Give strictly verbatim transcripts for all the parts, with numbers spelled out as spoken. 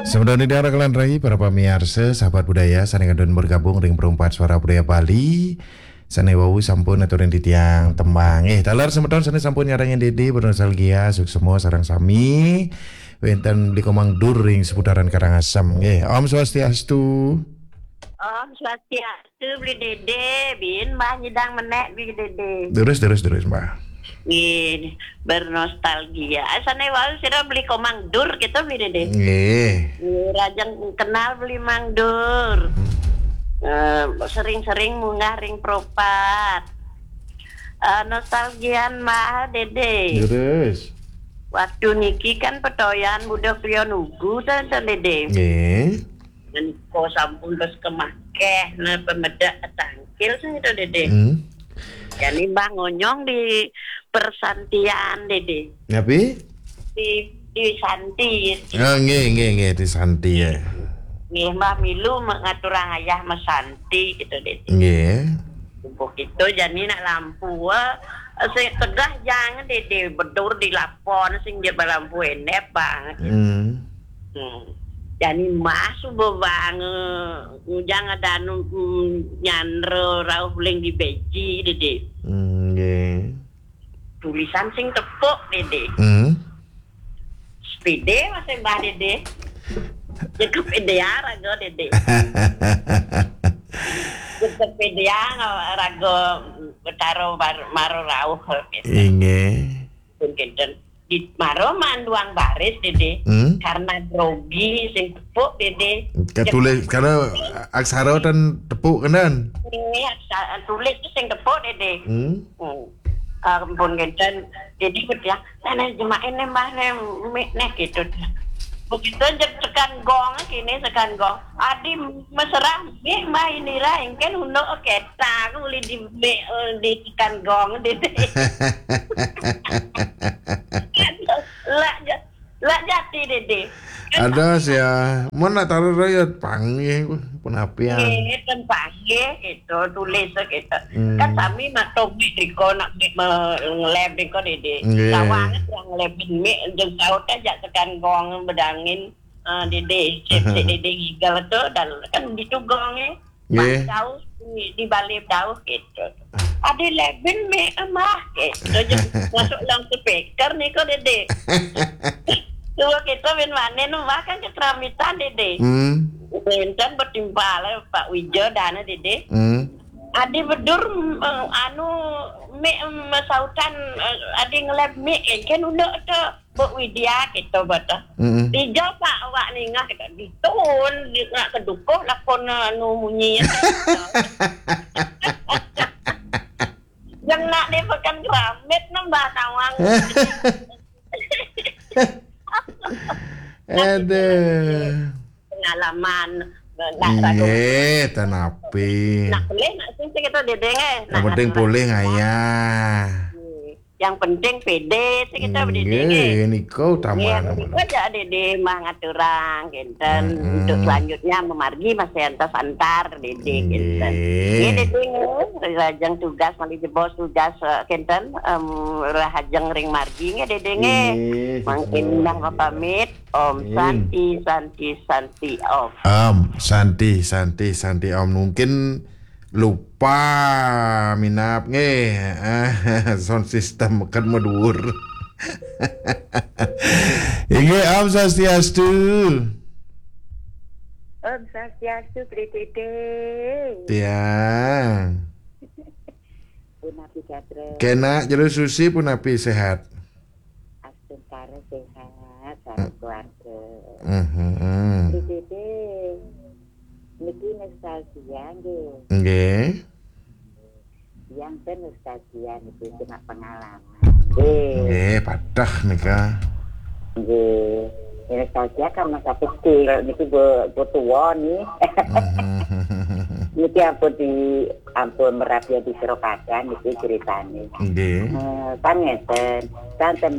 Semeton ida rakelan rai, para pamiarsa, sahabat budaya, sané kantun bergabung ring Perumpat Suara Budaya Bali. Sané wau sampun aturin titiang tembang. Eh, taler semeton sané sampun nyarengin Dédé bernostalgia, suksma sareng sami. Wénten Beli Komang Dur ring seputaran Karangasem. Nggih, Om Swastiastu. Om Swastiastu, Beli Dédé, bin Mbah nyidang menék, Beli Dédé. Terus, terus, terus, Mbah. Nggih, bernostalgia. Sané wau sira Beli Komang Dur kita, Beli Dédé. Nggih. Nggih, rajang kenal Beli Mang Dur. Eh, sering-sering munggah ring Propat. Eh, nostalgian Mbah Dédé. Terus. Waktu niki kan petoyan buda kriya nugu, ten, ten, Dédé. Nggih. Menika sampun terus kemakeh, nah, pemedek tangkil sing itu, Dédé. Hmm. Jani Mbah ngonyong di persantian, Dédé. Napi? Di, di Santi. Ah, nggih, nggih, nggih, di Santi, ya. Nggih, Mbah milu me-, ngaturang ayah mesanti gitu, Dédé. Nggih. Bubuh kita jani nak lampu, eh, sing tegah jang, Dédé, bedur di lapon, sing dia lampu endep banget. Hmm. Hmm. Jani Mbah suba bang, eh, ngujang ada anu, mm, nyandra rauh uling di beji, Dédé. Hmm, nggih. Tulisan sing tepuk, Dédé. Hmm. Sepédé masih Mbah Dédé. Cukup pede ya raga, Dédé. Cukup pede ya raga Betara mar-, mara rauh gitu. Inggih. Pun kinten. Di mara manduang baris, Dédé. Hmm? Karena grogi sing tepuk, Dédé. Katulis, karena aksara ten tepuk kenen. Ini aksa-, tulis tu sing tepuk, Dédé. Hmm? Hmm. Ah, pun kinten. Jadi betul ya. Nah, nah, jemain nih, Mbah, nih, mik nih, gitu. Begitu aja tekan gong, kini tekan gong. Adi mesra, mik, Mbah, inilah, engken unduk keta, aku boleh di mik, eh, di tekan gong, Dédé. Lah, ja-, lah jati, Dédé. Ada sih ya. Mun nak taruh raya panggih, pun apian. Nggih, ten panggih, gitu, tulis, gitu. Hmm. Kan sami mak tobi diko nak mik me-, ngeleb diko, Dédé. Nggih. Sawang yang ngelebin mik, jeung saut aja tekan gong bedangin, eh, Dédé, cip, cip, Dédé ngigel tu, dan kan gitu gongnya. Nggih. Pas jauh di, di balik jauh gitu. Adi lebin mik mah gitu. Jadi masuk dalam speaker nih kok, Dédé. Tuh kita bin manen mah kan keteramitan, Dédé. Hmm. Enten bertimpal Pak Wijo dana, Dédé. Hmm. Adi bedur, eh, anu, mik, eh, sautan, eh, adi ngeleb mik, eh, kan udah tuh. Bu Widya gitu, bata. Mm-mm. Tiga pak awak ningah gitu. Ditun, di nak kedukuh lakon anu munyi. Yang nak dia pekan keramit nembah tawang. Aduh. Pengalaman. Nak ragu. Iya, tanapi. Nak boleh, nak sing kita dedeng, eh. Yang penting boleh ngayah. Yang penting pede, sih kita berdiri. Nggih, nika utama. Nggih, nika aja Dede mah ngaturang, kinten. Mm-mm. Untuk selanjutnya memargi masih antas antar Dede, kinten. Nggih. Nggih, Dede, nggih. Rajang tugas, malih jebos tugas, eh, kinten, em, rahajeng ring margi, nggih, Dede, nggih. Nggih, mangkin sesama. Dah pamit. Om. Nggih. Santi, Santi, Santi, Om. Om, Santi, Santi, Santi, Om. Mungkin lupa minab nggih. Sound system kan maduur. Inggih, Om Swastiastu. Om Swastiastu, Bli Dede. Tiang. Punapi gatra. Kena jero susi punapi sehat. Astungkara sehat, sareng keluarga. Mhm. Bli Dede, niki nostalgia nggih. Nggih. Yang ten nostalgia niki cuma pengalaman. Nggih. Nggih, patah nika. Nggih. Ya, nostalgia kan masa kecil, niki bu, bu tua nih. Mhm. Niki ampun di, ampun merapi di Seropadan niki ceritane. Nggih. Eh, kan ngeten, kan ten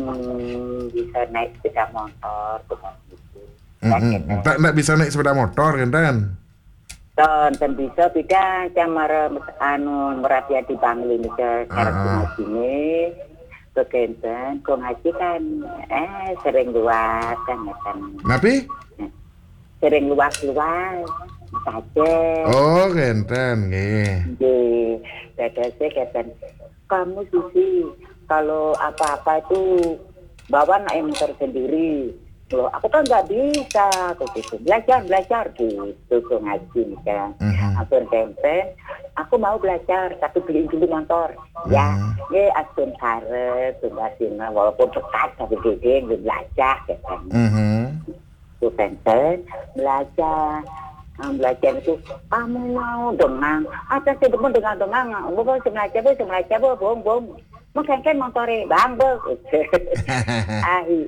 bisa naik sepeda motor, gitu. Mm-mm. Kan ngeten. Ndak, ndak bisa naik sepeda motor, kinten? Ten, ten bisa, beda sama re-, anu, merapi di Bangli nika, cara. Ah, ah. Sini. Kok enten, kok ngaji kan, eh, sering luar kan, ngeten. Napi? Sering luar-luar saja. Oh, ngenten, nggih. Nggih, dadosé ngeten. Kamu, Susi, kalau apa-apa itu bawa naik motor sendiri. Loh, aku kan nggak bisa, aku gitu. Belajar, belajar gitu, aku ngaji kan. Mhm. Ampun, Tenten, aku mau belajar, tapi beliin dulu motor. Ya, Mhm. Nggih, ampun, karep, tunggal dina, walaupun dekat, tapi gede, nggih, belajar, ya kan. Mhm. Tuh, Tenten, belajar. Nah, belajar itu, kamu mau dengang, ada sih demen dengang-dengang, bu, bu, sing belajar, bu, sing belajar, bu, bong, bong. Mau kengken motore, bang, bu. Ahi-,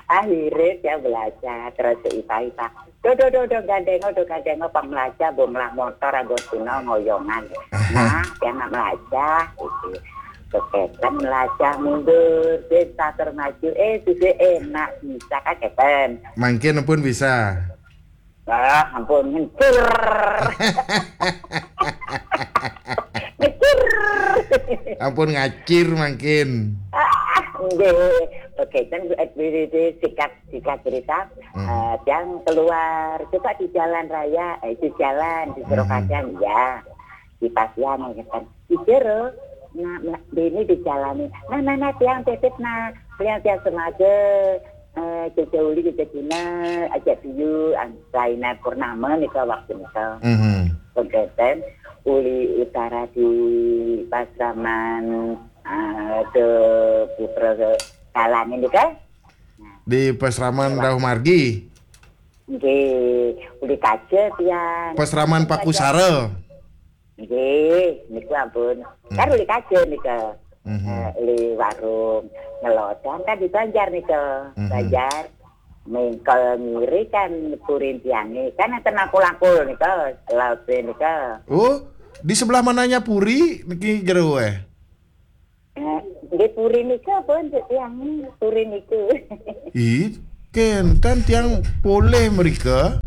Akhirnya dia belajar, terus ipa-ipa. Do, do, do, do, gandeng, do, gandeng, pang belajar, bu, melah motor, anggo tuna, ngoyongan. Nah, dia nggak belajar, gitu. Keketan belajar mundur, dia catur maju, eh, sudah enak, bisa kan, Keten? Mangkin pun bisa. Ah, ampun, ngecir. Ngecir. Ampun ngacir mangkin. Ah, nggih. Oke, kan, eh, di, di, di, singkat, singkat cerita, Hmm. Eh, yang keluar, coba di jalan raya, eh, di jalan, di Hmm. Serokadan, ya. Di Pasian, ya kan. Di jero, nah, nah, ini di jalan ini. Nah, nah, nah, tiang titip, nah. Tiang, tiang semade, eh, Jaja Uli, Jaja Dina, ajak biyu, an-, Zainal Purnama nika waktu nika. Mhm. Pengketen, Uli Utara di Pasraman, eh, de Putra Kalangin nika. Di Pasraman Wah. Dauh Margi. Nggih, Uli Kaja tiang. Pasraman Pakusara. Nggih, niku ampun. Hmm. Kan Uli Kaja nika. Mhm. Eh, Uli warung ngelodan kan di Banjar nika. Mhm. Banjar. Mengkol ngiri kan purin tiange. Kan enten langkul-langkul nika, laute nika. Oh, di sebelah mananya puri niki jero, eh? Eh, nggih, puri nika pun tiange, puri niku. Ih, kenten tiang polih mrika.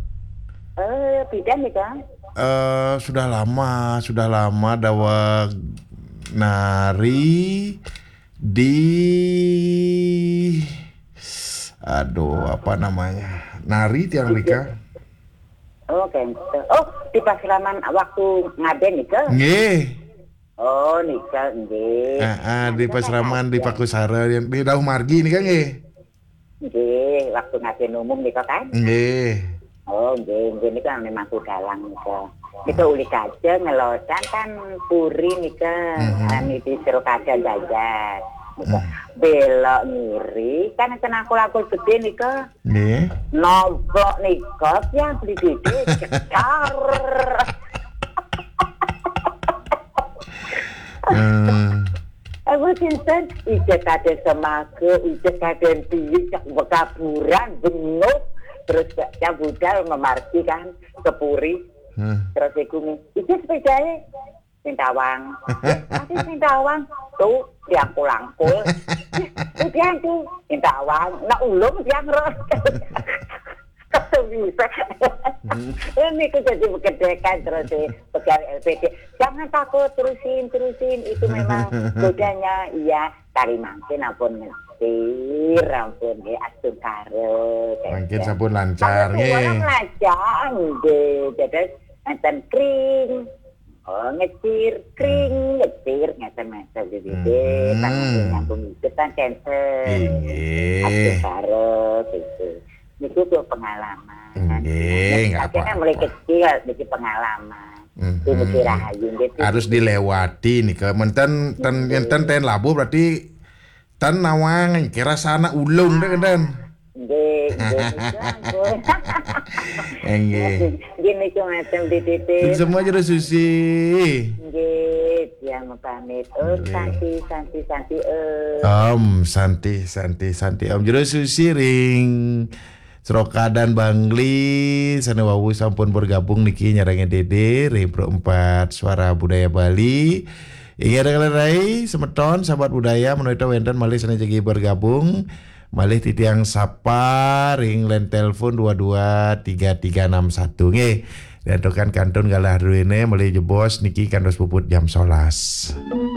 Eh, bidan nika? Eh, sudah lama, sudah lama daweg nari di, aduh, apa namanya? Nari tiang mrika. Oh, kenten. Oh, di Pasraman waktu ngaden nika? Nggih. Oh, nika, nggih. Heeh, nah, di nika kan Pasraman, di ada. Pakusara, di Dauh Margi nika nggih. Nggih, waktu ngaden umum nika kan? Nggih. Oh, nggih, nggih, nika memang ku dalang nika. Nika Hmm. Uli Kaja ngelodan kan puri nika, Mhm. anu di Serokadan Banjar. Nika Hmm. belok ngiri, kan enten langkul-langkul gede nika. Nggih. Nombok nika tiang beli gede, cetar. Eh. Aku sinten, ijek kaden semaga, ijek kaden piye, cak bekaburan, bengok. Terus cak budal memargi kan, ke puri. Hmm. Terus iku mi, "Ijek sepedae?" "Sing tawang." "Masih sing tawang?" "Tuh, diangkul-angkul." "Tuh, tiang tuh, sing tawang." Nak ulung tiang ro. Kok bisa? Hmm. Ini ku jadi bekedekan terus, eh, pegawai L P D. "Jangan takut, terusin, terusin. Itu memang godanya." Iya, tari mangkin ampun ngetir, ampun, ya, astungkara, Mangkin kenten. Sampun lancar, Kalau nggih. Orang lancar, nggih. Jadi, enten kring. Oh, ngetir, kring, Hmm. ngetir, ngeten, ngeten, gitu. Hmm. Kan nyambung itu kan kenten. Inggih. Astungkara, gitu. Niku tuh pengalaman. Inggih, nggak Akhirnya apa-apa. Mulai kecil, jadi pengalaman. Mhm. Itu mesti rahayu, gitu. Harus dilewati nika. Menten, ten, Inggih. Enten ten labuh berarti ten nawang, kira sana ulung deh, ten. Nggih, nggih, niku ampun. Nggih. Nggih, niku macam di titik. Semua jero Susi. Nggih, tiang pamit. Oh, Nggih. Santi, Santi, Santi, eh. Om, Santi, Santi, Santi. Om jero Susi ring Serokadan Bangli, sane wau sampun bergabung niki nyarengin Dede, ring Pro empat Suara Budaya Bali. Inggih, rekan-rekan rai, semeton, sahabat budaya, menawi wenten malih sane jagi bergabung, malih titiang sapa ring line telepon dua dua tiga tiga enam satu. Nggih, diantukan kantun galah druene, malih jebos niki kantos puput jam sebelas.